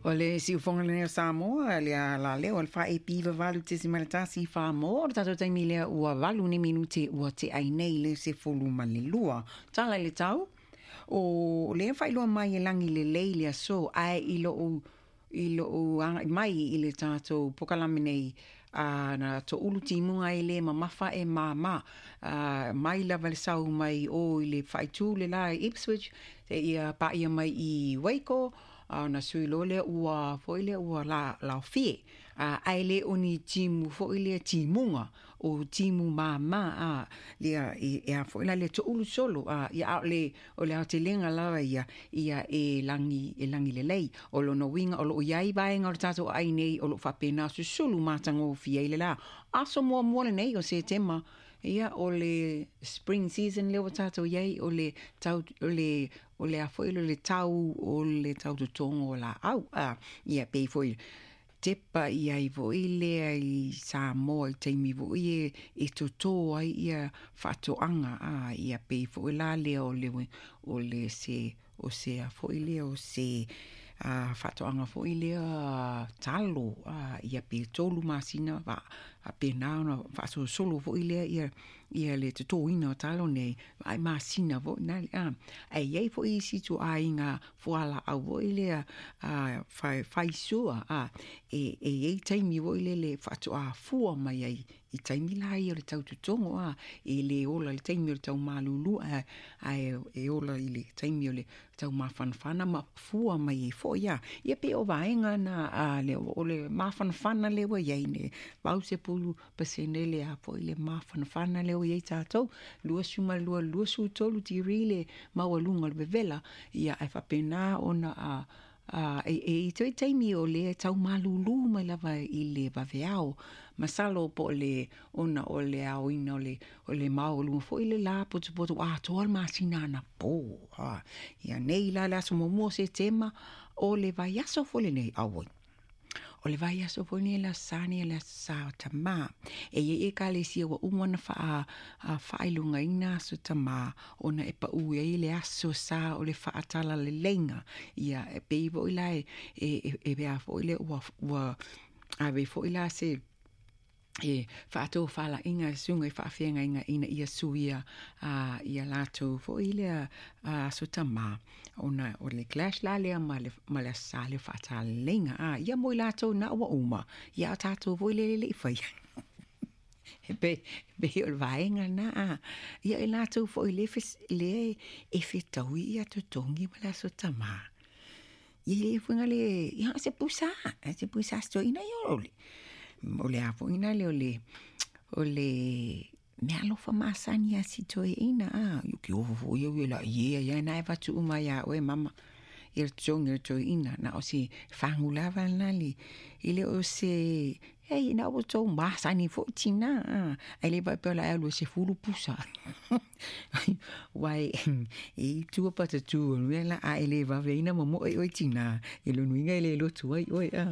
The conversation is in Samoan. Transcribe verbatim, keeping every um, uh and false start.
O le siufoga lenei o Samoa le a la lea o le faaepi vavalu tesimale tasi Samoa o le tatou taimi lea ua valu ni minute ua teai nei le sefulu ma le lua. Tala i le tau o lea faailoa mai e lagi lelei le aso ae i lou i lou agai mai i le tatou pokalame nei a na toulu timuga e lē mamafa e māmā a mai lava le sau mai o i le faaitu le la i Ipswich seia paia mai i Waco a ona sui loa lea ua foi lea ua la laofie a ae le o ni timu foi lea timuga o timu māmā a lea e, e a foi la le toulu solo a ia a o le o le aotelega lava ia ia e lagi e lagi lelei o lona uiga o loo iai vaega o le tatou aai nei o loo faapena susulu matagofie ai le la aso muamua lenei o Setema. Ia o le spring season lea ua tatou iai o le tau o le o le a foi le tau o le tau totogo o laau a ia pei foi tepa iai foi lea i Samoa i taimi foi e e totō ai ia faatoaga a ia pei foi la lea o le o le se o se a foi lea o se a faatoaga foi lea talo a ia pe tolu masina fa faapena ona faasolosolo foi lea ia ia le totoina o talo nei ai masina foi na a ae iai foi isi ituaiga fualaau foi lea a fai faisua a e e iai taimi foi lele faatoa fua mai ai i taimi la ia o le tautotogo a e lē ola i le taimi o le taumalūlū ae ae e ola i le taimi o le taumafanafana ma fua mai ai foi a ia pei o vaega na a le o le mafanafana lea ua iai nei valusefulu pasene le a foi le mafanafana lea ua iai tatou luasefulu ma lua luasefulu tolu tikeri le maualuga o le vevela ia ae faapena ona a a e e i toe taimi o lea taumalūlū mai lava i le vaveao masalo po o le ona o le aoina o le o le maualuga foi le la potopoto atoa le masina anapo a ia nei la le aso muamua o Setema o le vaiaso foi lenei auoi o le vaiaso foi nei le aso Sa nei le aso Sa o Tamā e iai ekalesia ua uma ona faa faailogaina aso tamā ona e paʻu ai le aso sa o le faatalalelei ia e pei foi la e e e a foi le ua ua ave foi la se e faatofalaiga susuga i faafeagaiga ina ia suia a ia latou foi lea aso tamā ona o le clash la lea ma le ma le aso Sa lea faatalaleiga a ia mo i latou na ua uma ia o tatou foi lea e le'i faia e pei pei o le vaega lena a ia i latou foi le lea e fetaui ia totogi ma le aso tamā ia le fuiga le ia se pusa se pusa stoina ia o le o le a foi na le o le o le mea alofa masani a si toeaina a ki ofo foi au ia la ia ia na e fatu uma ia oe mama ia le totogi o le toeaina na o se fagu lava lena le e le o se ei na ua tou masani foi tina a ae le faapea o le a e alu e sefulu pusa uae e i tua patatu o le mea la a e le vaveina momoe oe tina i lona uiga e le lotu ai oe a.